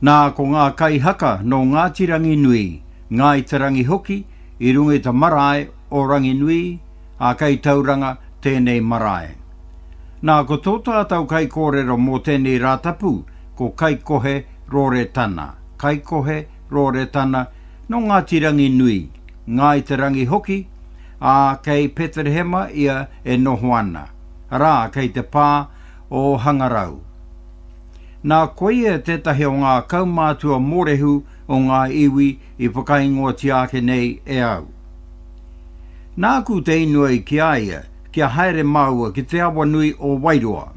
Nā, ko ngā kaihaka nō Ngāti Ranginui, Ngāi Te Rangi hoki, i runga i te marae o Ranginui, ā, kei Tauranga tēnei marae. Nā, ko tō tātou kaikōrero mō tēnei Rātapu, ko Kaikohe Roretana, Kaikohe Roretana, nō Ngāti Ranginui, Ngāi Te Rangi hoki, ā, kei Peterehema ia e noho ana, arā, kei te pā o Hangarau. Nā, koia tētahi o ngā kaumātua mōrehu o ngā iwi i whakaingoatia ake nei e au. Nāku te inoi ki a ia kia haere māua ki te awa nui o Wairoa,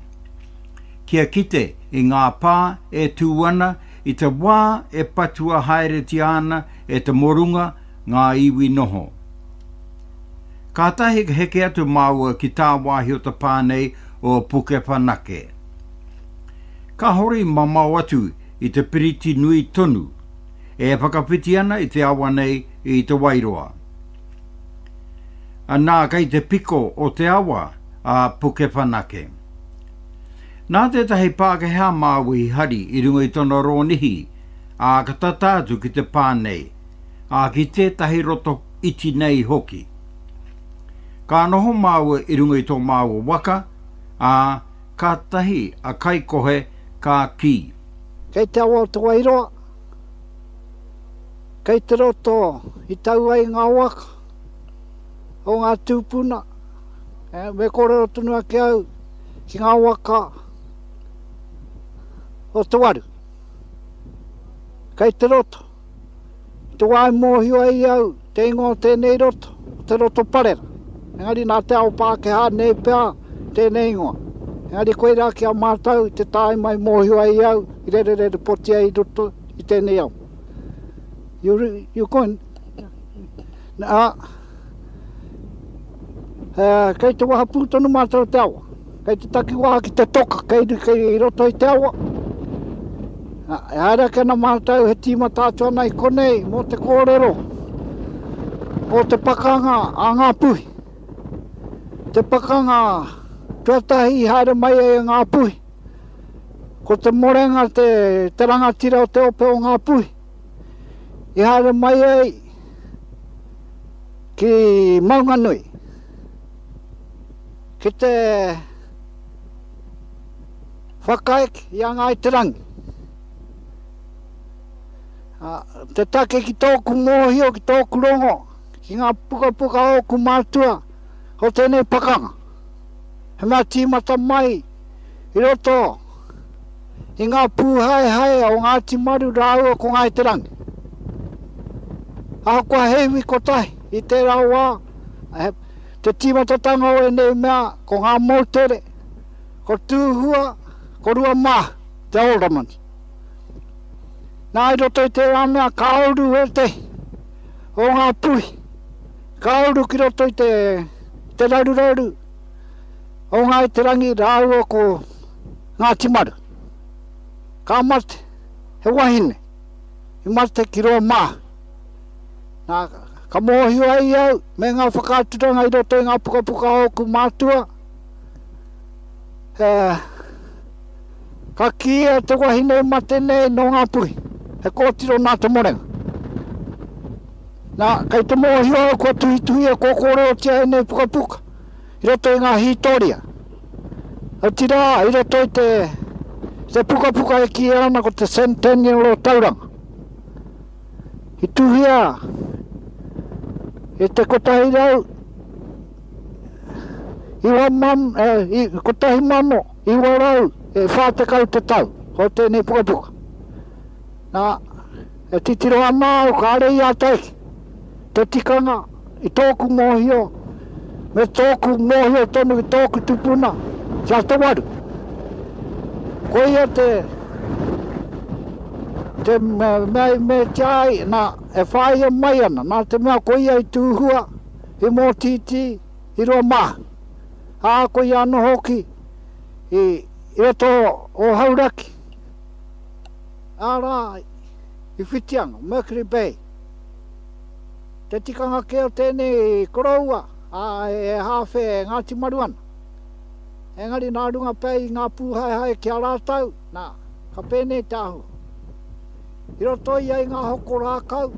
kia kite i ngā pā e tū ana i te wā e patua haeretia ana e te morunga ngā iwi noho. Kātahi ka heke atu māua ki tāwāhi o te pā nei o Pukewhanake. Kāore i mamao atu i te piriti nui tonu e whakawhiti ana i te awa nei i Te Wairoa. Anā kei te piko o te awa a Pukewhanake. Nā tētahi Pākehā māua i hari i runga i tona rōnihi, ā, ka tata atu ki te pā nei, ā, ki tētahi roto iti nei hoki. Ka noho māua i runga i tō māua waka, ā, kātahi a Kaikohe ka kī. Kei te awa o Te Wairoa, kei te roto i tau ai ngā waka o ngā tūpuna, me kōrero tonu ake au ki ngā waka o Te Waru. Kei te roto. I te wā i mōhio ai au te ingoa o tēnei roto, ko te Roto Parera. Engari nā te ao Pākehā nei pea tēnei ingoa. Engari koirā ki a mātou i te tāima i mōhio ai au i rererere poti ai i roto i tēnei ao. You, you going? Ā, kei te wahapū tonu mātou te awa. Kei te takiwā ki te toka, kei, kei roto i te awa. E haere ake ana mātou he tīmata atu ana i konei mō te kōrero o te pakanga a Ngāpuhi. Te pakanga tuatahi i haere mai ai a Ngāpuhi. Ko Te Morenga te, te rangatira o te ope o Ngāpuhi. I haere mai ai ki Maunganui. Ki te whakaeke i a Ngāi Te Rangi. Te take ki tōku mōhio, ki tōku rongo, ki ngā pukapuka o ōku mātua o tēnei pakanga. He mea tīmata mai i roto i ngā pūhaehae o Ngāti Maru rāua ko Ngāi Te Rangi. Ahakoa he iwi kotahi i tērā wā, te tīmatatanga o ēnei mea ko ngā moutere, ko Tūhua, ko Ruamāhu, te Alderman. Nā, i roto i tērā mea ka uru ētehi o ngā puhi, ka uru ki roto i te, te raruraru o Ngāi Te Rangi rāua ko Ngāti Maru. Ka mate he wahine i mate ki Ruamāhu. Nā, ka mōhio ai au me ngā whakaaturanga i roto i ngā pukapuka o ōku mātua, e, ka kīia te wahine i mate nei nō Ngāpuhi, he kōtiro nā Te Morenga. Nā, kei te mōhio au kua tuhituhia, kua kōrerotia ēnei pukapuka i roto i ngā hītoria. Otirā, i roto i te, te pukapuka e kīia ana ko te Centennial o Tauranga. I tuhia i te 100 1940 te tau o tēnei pukapuka. Nā, e titiro ana au kāre i āta eke te tikanga i tōku mōhio me tōku mōhio tonu ki tōku tupuna ki a Te Waru. Koia te te mea i meatia ai, nā, e whāia mai ana, nā te mea koia i tūhua, i mōtītī, i Ruamāhu. Ā, koia anō hoki i roto o Hauraki, arā, i Whitianga, Mercury Bay. Te tikanga kē o tēnei koroua, ā, he hāwhe e Ngāti Maru ana. Engari nā runga pea i ngā pūhaehae ki a rātou, nā, ka pēnei te āhua. I roto ia i ngā hoko rākau,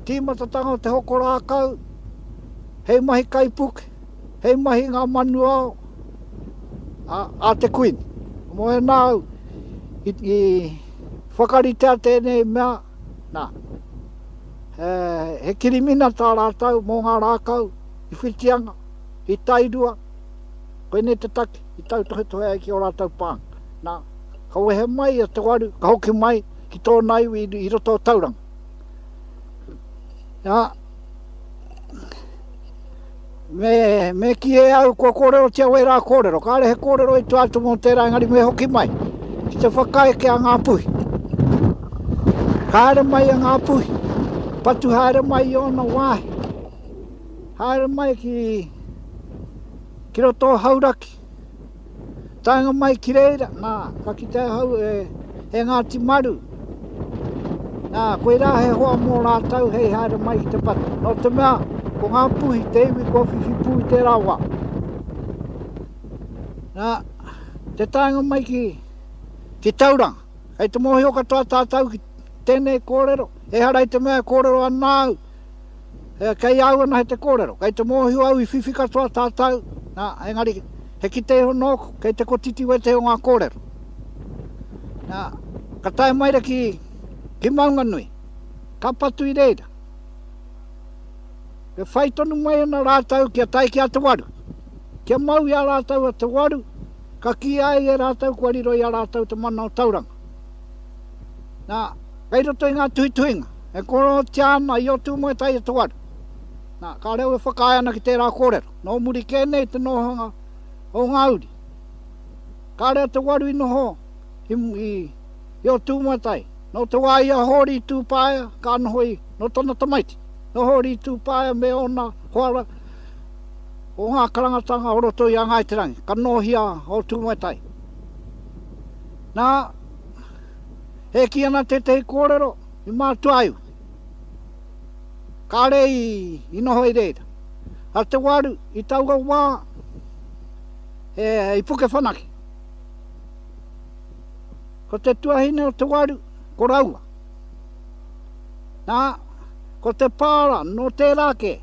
tīmatatanga o te hoko rākau, hei mahi kaipuke, hei mahi ngā manuao a, a te Kuini. Mō ēnā au i, i whakaritea tēnei mea, nā, he, he kirimina tā rātou mō ngā rākau i Whitianga, i Tairua, koinei te take i tautohetohe ai ki ō rātou pānga. Nā, ka wehe mai a Te Waru, ka hoki mai ki tōna iwi i roto o Tauranga. Nā, me, me kī e au kua kōrerotia wērā kōrero, kāre he kōrero i tua atu mō tērā engari me hoki mai ki te whakaeke a Ngāpuhi. Ka haere mai a Ngāpuhi, patu haere mai i ōna wāhi, haere mai ki, ki roto o Hauraki, Taenga mai ki reira, nā, ka kite ahau e, e Ngāti Maru. Nā, koirā he hoa mō rātou hei haere mai ki te patu. Nō te mea, ko Ngā Puhi te iwi kua whiwhi pū i tērā wā. Nā, te taenga mai ki, ki Tauranga. Kei te mōhio katoa tātou ki tēnei kōrero, ehara i te mea e kōrero ana au, Kei a au anahe te kōrero, kei te mōhio au i whiwhi katoa tātou, nā, engari he kite iho nōku, kei te kotiti wētehi o ngā kōrero. Nā, ka tae mai ra ki, ki Maunganui, ka patu i reira. E whai tonu mai ana rātou kia tae ki a Te Waru. Kia mau i a rātou a Te Waru, ka kīia ai e rātou kua riro i a rātou te mana o Tauranga. Nā, kei roto i ngā tuhituhinga, e kōrerotia ana i Ōtūmoetai e Te Waru. Nā, kāre au e whakaae ana ki tērā kōrero. Nō muri kē nei te nohanga o ngā uri. Kāre a Te Waru i noho i, i, i Ōtūmoetai. Nō te wā i a Hōri Tūpaea, ka noho i, nō tana tamaiti, nō Hōri Tūpaea me ōna hoa o ngā karangatanga o roto i a Ngāi Te Rangi, ka nōhia a Ōtūmoetai. Nā, e kī ana tētehi kōrero i mātua iwi, kāre i, i noho i reira. A Te Waru, i taua wā, e, i Pukewhanake. Ko te tuahine o Te Waru, ko Raua. Nā, ko te pāra nō tērā kē,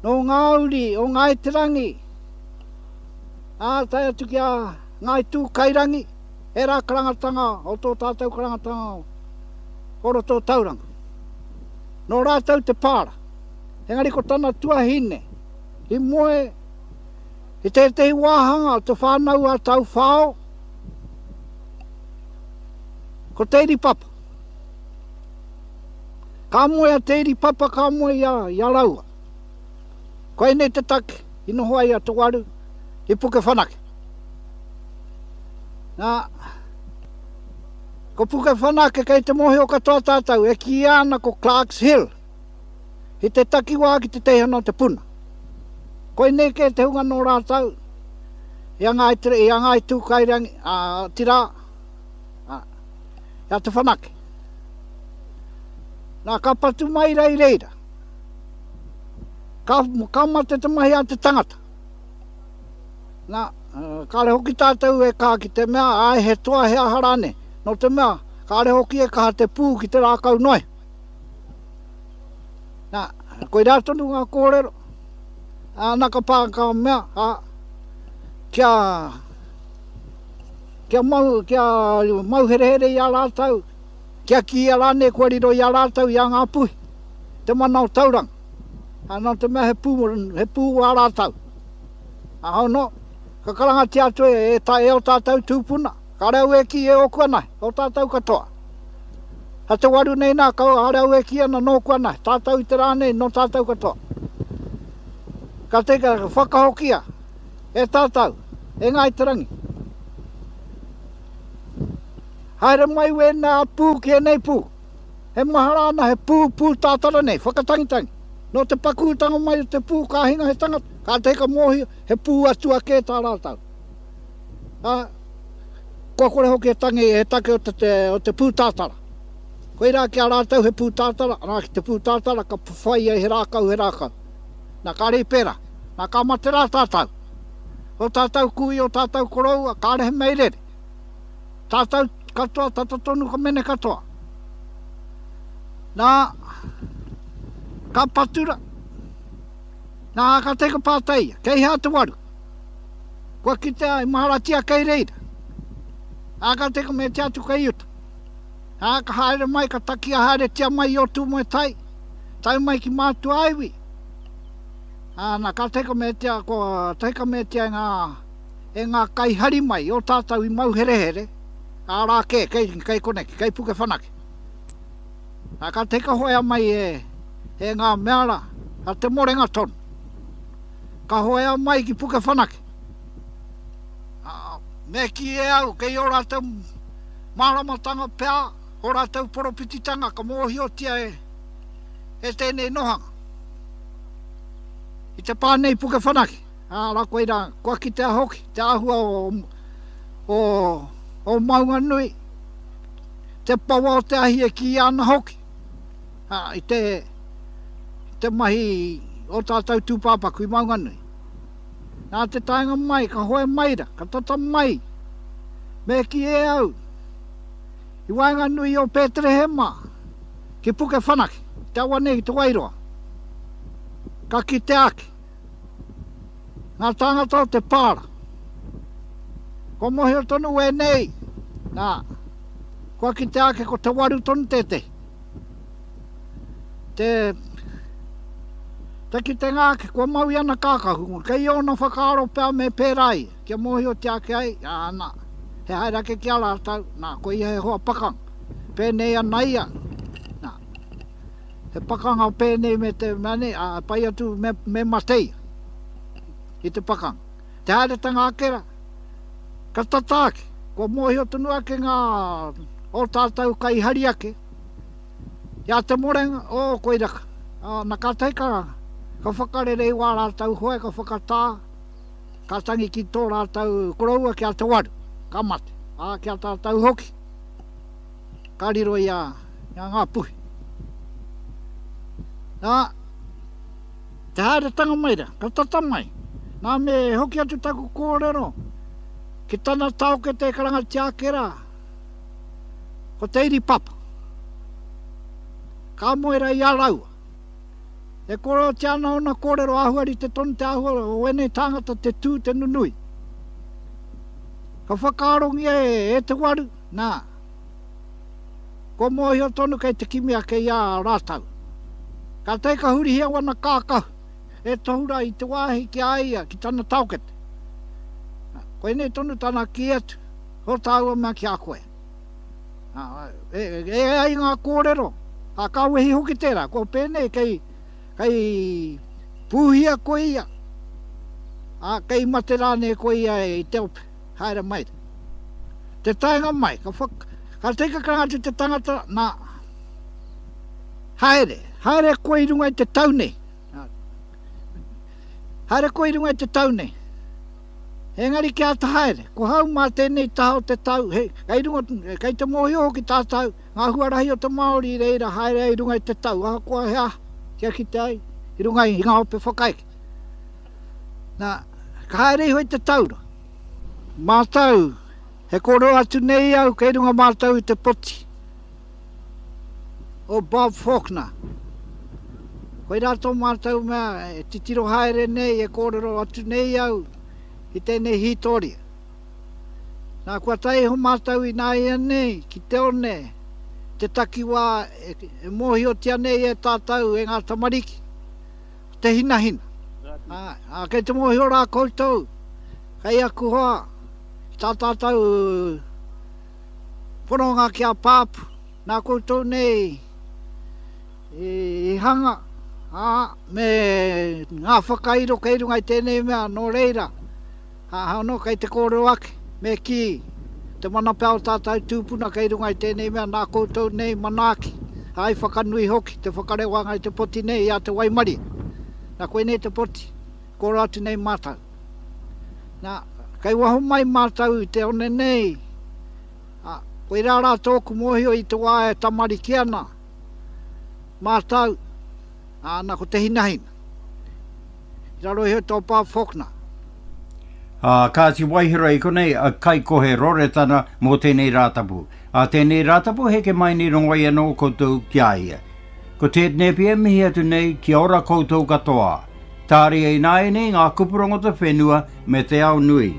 nō ngā uri o Ngāi Te Rangi, ā, tae atu ki a Ngāi Tūkairangi, ērā karangatanga o tō tātou karangatanga o roto o Tauranga. Nō rātou te pāra. Engari ko tana tuahine i moe i tētehi wāhanga o te whānau a Tauwhao, ko Te Iripapa. Ka moe a Te Iripapa, ka moe i a, i a Raua. Koinei te take i noho ai a Te Waru i Pukewhanake. Nā, ko Pukewhanake kei te mōhio katoa tātou e kīia ana ko Clarks Hill i te takiwā ki te teihana o Te Puna. Koinei kē te hunga nō rātou i a Ngāi, i a Ngāi Tūkairangi, ā, otirā, ā, i a Te Whanake. Nā, ka patu mai rā i reira. Ka, ka mate te mahi a te tangata. Nā, kāre hoki tātou e kaha ki te mea, āe he toa he aha rānei. Nō te mea, kāre hoki e kaha te pū ki te rākau noa. Nā, koirā tonu ngā kōrero. Ā, nā ka pā ka mea, ā, kia, kia mau, kia mau herehere i a rātou, kia kīia rānei kua riro i a rātou i a Ngāpuhi, te mana o Tauranga. Ā, nō te mea he pū, he pū ā rātou. Ā, hono, ka karangatia atu e, e, ta, e ō tātou tūpuna, kāre au e kī e ōku anahe, ō tātou katoa. Ha te waru nei nā, kāre au e kī ana nōku anahe, tātou i te rā nei, nō tātou katoa. Ka te, ka whakahokia e tātou, e Ngāi Te Rangi. Haere mai wēnā pū ki ēnei pū. He mahara ana he pū, pū tātara nei, whakatangitangi. Nō te pakūtanga mai o te pū ka hinga he tangata, kātahi ka mōhio he pū atua kē tā rātou. Ā, kua kore hoki e tangi he take o te, te, o te pū tātara. Koirā ki a rātou he pū tātara, arā ki te pū tātara ka whai ai he rākau, he rākau. Nā, kāre i pērā. Nā, ka mate rā tātou. Ō tātou kui, ō tātou koroua, kāre he mea i rere. Tātou. Katoa, tata tonu ka mene katoa. Nā, ka patura. Nā, ka tae ka pātai ia, kei hea te waru? Kua kitea i maharatia kei reira. Ā, ka tae ka meatia atu kei uta. Ā, ka haere mai, ka takia haeretia mai i Ōtūmoetai, tae mai ki Mātuaiwi. Ā, nā, ka tae ka meatia, kua tae ka meatia e ngā, e ngā kaihari mai i ō tātou i mauherehere, ā rā kē, kei, kei koneki, kei Pukewhanake. Ā, ka tae ka hoea mai e, e ngā mea rā, a Te Morenga tonu. Ka hoea mai ki Pukewhanake. Ā, me kī e au, kei ō rātou māramatanga pea, ō rātou poropititanga ka mōhiotia e, e tēnei nohanga. I te pā nei Pukewhanake, ā, rā koirā, kua kitea hoki te āhua o, o, o Maunganui, te pawa o te ahi e kīia ana hoki, ā, i te, i te mahi o tātou tūpāpaku i Maunganui. Nā te taenga mai, ka hoe mai ra, ka tata mai, me kī e au, i waenganui o Pēterehema ki Pukewhanake, te awa nei ki Te Wairoa, ka kitea ake ngā tāngata o te pāra. Kua mōhio tonu wēnei, nā, kua kitea ake ko Te Waru tonu tētehi. Te, te kitenga ake, kua mau i ana kākahu, kei ōna whakaaro pea me pērā ia, kia mōhiotia ake ai, ā, nā, he haere ake ki a rātou, nā, ko ia he hoa pakanga, pēnei ana ia, nā, he pakanga pēnei me te mea nei, ā, pai atu me, me mate ia i te pakanga. Te haeretanga ake rā, ka tata ake, kua mōhio tonu ake ngā o tātou kaihari ake, I a Te Morenga, oh, koira ka, oh, na kātahi ka, ka whakarere i wā rātou hoe, ka whakatā, ka tangi ki tō rātou koroua ki a Te Waru, ka mate, ā, ki a tātou hoki, ka riro i a, i a Ngāpuhi. Nā, te haeretanga mai rā, ka tata mai, nā me hoki atu taku kōrero ki tana taokete e karangatia ake rā, Ko Te Iripapa. Ka moe ra i a raua. E kōrerotia ana ōna kōrero āhua rite tonu te āhua o ēnei tāngata te tū te nunui. Ka whakaarongia e Te Waru, nā, kua mōhio tonu kei te kimi ake i a rātau. Kātahi ka hurihia wana kākahu e tohu rā i te wāhi ki a ia, ki tana taokete. Koinei tonu tana kī atu. Ko tāua mea ki a koe. E, e ai ngā kōrero, a ka wehi hoki tērā, kua pēnei kei, kei pūhia koe ia, a kei mate rānei koe ia i te ope, haere mai. Te taenga mai, ka, whak, ka teka karanga atu te tangata, nā, haere, haere koe i runga i te tau nei. Haere koe i runga i te tau nei. Engari kia āta haere, ko hau mā tēnei taha o te tau, he, kei runga, kei te mōhio hoki tātou, ngā huarahi o te Māori i reira haere ai i runga i te tau, ahakoa he aha, kia kite ai, i runga i ngā ope whakaeke. Nā, ka haere iho i te taura. Mātou, he kōrero atu nei au kei runga mātou i te poti. O Bob Faulkner. Koirā tō mātou mea e titiro haere nei, e kōrero atu nei au i tēnei hītoria. Nā, kua tae iho mātou ināianei ki te one, te takiwā e, e mōhiotia nei e tātou e ngā tamariki, te hinahina. Ā, ā, kei te mōhio rā koutou, kei aku hoa, ki tā tātou Pononga ki a Pāpu, nā koutou nei i hanga, ā, me ngā whakairo kei runga i tēnei mea, nō reira, ā, anō kei te kōrero ake, me kī, te mana pea o tātou tūpuna kei runga i tēnei mea, nā koutou nei manaaki, ā, i whakanui hoki te whakarewanga i te poti nei i a Te Waimarie. Nā, koinei te poti, kōrero atu nei mātou. Nā, kei waho mai mātou i te one nei, ā, koirā rā tōku mōhio i te wā e tamariki ana mātou, ā, nā ko te hinahina. I raro iho i tō Bob Faulkner. Ā, kāti Waihera i konei a Kaikohe Roretana mō tēnei Rātapu. Ā tēnei Rātapu heke mai nei rongo ai anō koutou ki a ia. Ko Ted Napier mihi atu nei kia ora koutou katoa. Tāria ināianei ngā kupu rongo te whenua me te ao nui.